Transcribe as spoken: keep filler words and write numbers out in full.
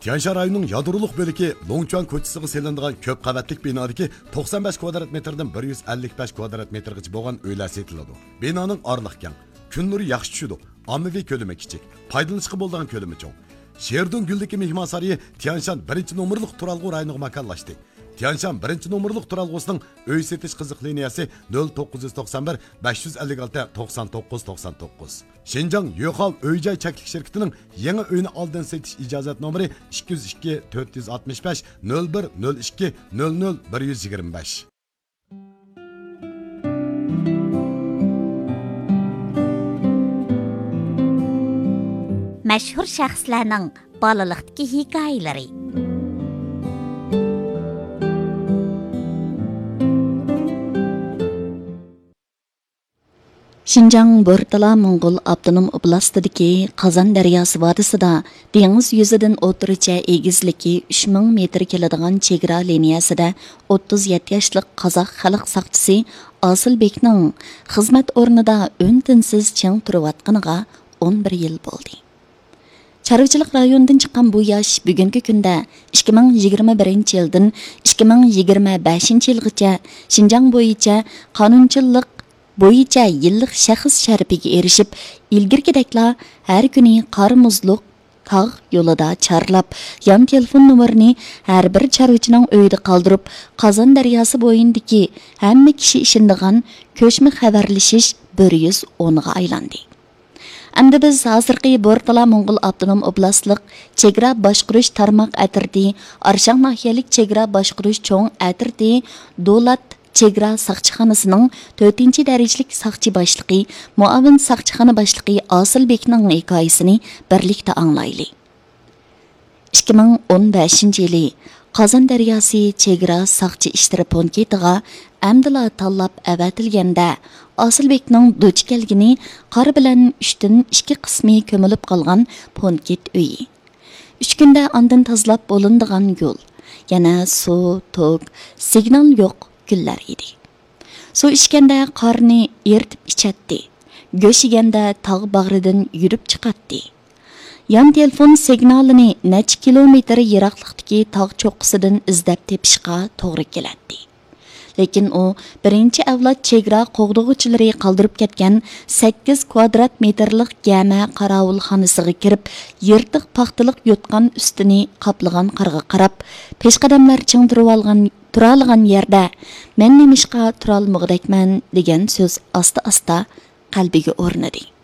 تيانشان رايونىنىڭ يادرولۇق بۆلىكى لوڭچۈەن كوچىسىغا سېلىنىدىغان كۆپ قەۋەتلىك بىنادىكى توقسان بەش كۋادرات مېتىردىن بىر يۈز ئەللىك بەش كۋادرات مېتىرغىچە بولغان ئۆيلەر سېتىلىدۇ. بىنانىڭ ئارىلىقى كەڭ، كۈن نۇرى ياخشى چۈشىدۇ، ئاممىۋى كۆلىمى كىچىك، پايدىلىنىشقا بولىدىغان كۆلىمى چوڭ. شېردۇڭ گۈلدىكى مېھمانسارىيى تيانشان بىرىنچى نومۇرلۇق تۇرالغۇ رايونىغا ماكانلاشتى. تيانشان بىرىنچى نومۇرلۇق تۇرالغۇسىنىڭ ئۆي سېتىش قىزىق لىنىيەسى نۆل توققۇز يۈز توقسان بىر، بەش يۈز ئەللىك ئالتە، توقسان توققۇز، توقسان توققۇز. شىنجاڭ يۆخاۋ ئۆي جاي چەكلىك شىركىتىنىڭ يېڭى ئۆينى ئالدىن سېتىش ئىجازەت نومۇرى ئىككى يۈز ئىككى، تۆت يۈز ئاتمىش بەش، نۆل بىر، نۆل ئىككى، نۆل نۆل، بىر يۈز يىگىرمە بەش. مەشھۇر شەخسلەرنىڭ بالىلىقتىكى ھېكايىلىرى. شىنجاڭ بورتالا موڭغۇل ئاپتونوم ئوبلاستىدىكى قازان دەرياسى ۋادىسىدا دېڭىز يۈزىدىن ئوتتۇرىچە ئېگىزلىكى ئۈچ مىڭ مېتىر كېلىدىغان چېگرا لىنىيەسىدە ئوتتۇز يەتتە ياشلىق قازاق خەلق ساقچىسى ئاسىلبېكنىڭ خىزمەت ئورنىدا ئۈن-تىنسىز چىڭ تۇرۇۋاتقىنىغا ئون بىر يىل بولدى. چارۋىچىلىق رايونىدىن چىققان بۇ ياش بۈگۈنكى كۈندە ئىككى مىڭ يىگىرمە بىرىنچى يىلدىن ئىككى مىڭ يىگىرمە بەشىنچى يىلغىچە شىنجاڭ بويىچە قانۇنچىلىق بويىچە يىللىق شەخس شەرىپىگە ئېرىشىپ، ئىلگىرىكىدەكلا ھەر كۈنى قار-مۇزلۇق تاغ يولىدا چارلاپ، يان تېلېفون نومۇرىنى ھەر بىر چارۋىچىنىڭ ئۆيىدە قالدۇرۇپ، قازان دەرياسى بويىدىكى ھەممە كىشى ئىشىنىدىغان كۆچمە خەۋەرلىشىش بىر يۈز ئونغا ئايلاندى. ئەمدى بىز ھازىرقى بورتالا موڭغۇل ئاپتونوم ئوبلاستلىق چېگرا باشقۇرۇش تارماق ئەترىتى، ئارشاڭ ناھىيەلىك چېگرا باشقۇرۇش چوڭ ئەترىتى، دولات چېگرا ساقچىخانىسىنىڭ تۆتىنچى دەرىجىلىك ساقچى باشلىقى، مۇئاۋىن ساقچىخانا باشلىقى ئاسىلبېكنىڭ ھېكايىسىنى بىرلىكتە ئاڭلايلى. ئىككى مىڭ ئون بەشىنچى يىلى قازان دەرياسى چېگرا ساقچى ئىشلىرى پونكىتىغا ئەمدىلا تاللاپ ئەۋەتىلگەندە، ئاسىلبېكنىڭ دۇچ كەلگىنى قار بىلەن ئۈچتىن ئىككى قىسمى كۆمۈلۈپ قالغان پونكىت ئۆيى. ئۈچ كۈندە ئاندىن تازىلاپ بولۇنىدىغان يول، يەنە سۇ، توك، سىگنال يوق كۈنلەر ئىدى. سۇ ئىچكەندە قارنى ئېرىتىپ ئىچەتتى. گۆش يېگەندە تاغ باغرىدىن يۈرۈپ چىقاتتى. يان تېلېفون سىگنالىنى نەچچە كىلومېتىر يىراقلىقتىكى تاغ چوققىسىدىن ئىزدەپ تېپىشقا توغرا كېلەتتى. لېكىن ئۇ بىرىنچى ئەۋلاد چېگرا قوغدىغۇچىلىرى قالدۇرۇپ كەتكەن سەككىز كۋادرات مېتىرلىق گەمە قاراۋۇلخانىسىغا كىرىپ، يىرتىق پاختىلىق يوتقان ئۈستىنى قاپلىغان قارغا قاراپ، پېشقەدەملەر چىڭ تۇرۇۋالغان، تۇرالىغان يەردە، «مەن نېمىشقا تۇرالمىغۇدەكمەن؟» دېگەن سۆز ئاستا-ئاستا قەلبىگە ئورنىدى.